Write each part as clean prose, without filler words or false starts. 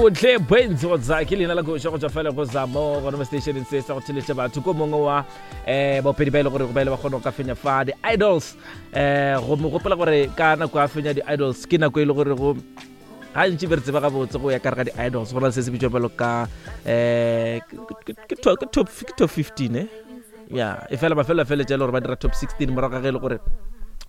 Bontle Benz go tsa ke leina la koša go tšwa fela go zamo gona mo stationeng se sa go theletša batho ko mongwe wa um baopedi ba e le gore ba ile ba kgona go ka fenya fa di-idols um go mo gopola gore ka nako ya fenya di-idols ke nako e le gore go gantši be re tseba gabotse go ya ka re ga di-idols go na le se se bitswa bjalo ka um ke top 15 eh ya e fela mafelo a feletša e le gore ba dira top 16 morago ga ge e le gore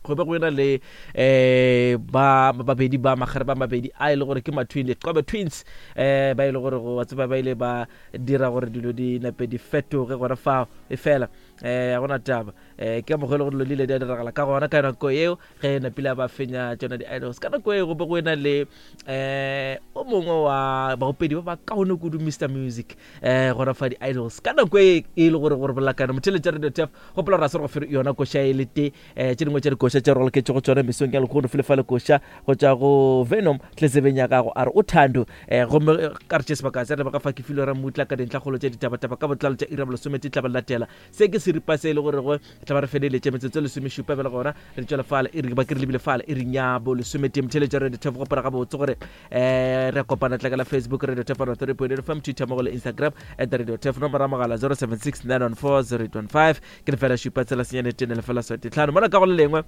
go be go ena le eh ba babedi ba magare ba mabedi a e le gore ke ma-twin diqobe twins eh ba e le gore go tseba ba ile ba dira gore dilo di nape di fetoge gona fao e fela eh ga gona taba eh ke mokgwa e le gore dilo di ile di a diragala ka gona ka nako eo ge napile ba fenya tsona di-idols ka nako eo go be go ena le eh o mongwe wa baopedi ba ba kaone kudu Mr Music eh gona fa di-idols ka nako e e le gore gore bolakana motheletša radio tef gopola gore a se re go fe yona koša e le te um tše dingwe tša dikoša tše roloketše go tsona mesong ya lekgono fele fa lekoša go tša go venom tletsebeng ya gago a re o thando um gomme eh, ka re tše sebaka se re ba ka fa ke filo ra mmutla ka dintlhakgolo tša ditabataba ka botlalo tša ira bolesomete tla ba latela se ke seripa se e le gore go tla ba re feleletše metsotso lesomešupa bjale gona re tšwela fale e re ba ke re lebile fale e re nyabo lesometee motheletša radio tef gopola gabotse gore um re kopana tla ka la facebook radio tef 3.8 fm twitter mo go le instagram at radio tef nomoro ya mogala 076 914 0815 ke lefela šupa tsela senyane tene lefela swete tlhano mola ka go le lengwe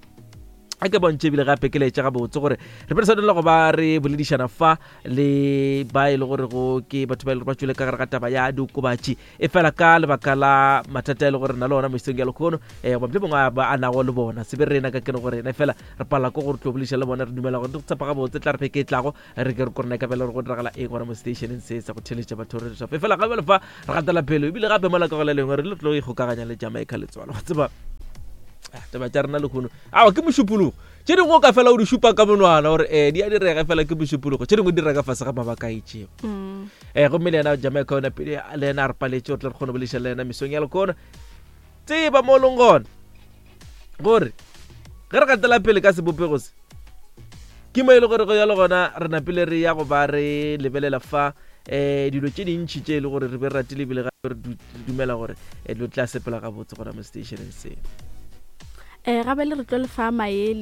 a ke bontšhe ebile gape ke laetša gabotse gore re be re swanela go ba re boledišana fa le ba e le gore go ke batho ba e le gore ba tswele ka gare ga taba ya diokobatši e fela ka lebaka la mathata e le gore na le ona mesong ya lekgono um goba mongwe a ba a nago le bona se be rena ka kene gore ena fela re palela ko gore tlo bolediša le bona re dumela gore di go tshepa gabotse tla re beke e tlago re ke re korona ka bela gore go diragala eng gona mo stationeng se sa go theletša batho re shape fela gape le fa re gatela pele ebile gape mola ka go le lengwe re le tlo ikgokaganya le Jamaica letswalo go tseba ah, taba tša rena lehono awa ke mošupologo tše dingwe o ka fela o di šupa ka monwana gore um di a direga fela ke mošupologo tše dingwe di reka fase ga mabaka a itšego um gomme le yena Jamaica ona pele le yena a re paletše gore tle re kgone go bolediša le yena mesong ya lekono tseba mo leng gona gore ge re gatela pele ka sebopego se ke mo e le gore go ya le gona re napile re ya go ba re lebelela fa um dilo tše dintšhi tše e le gore re be re ratile ebile gape re dumela gore eh, dilo tla sepela gabotse gona mo stationeng se um gabe le re tlo lefa maele.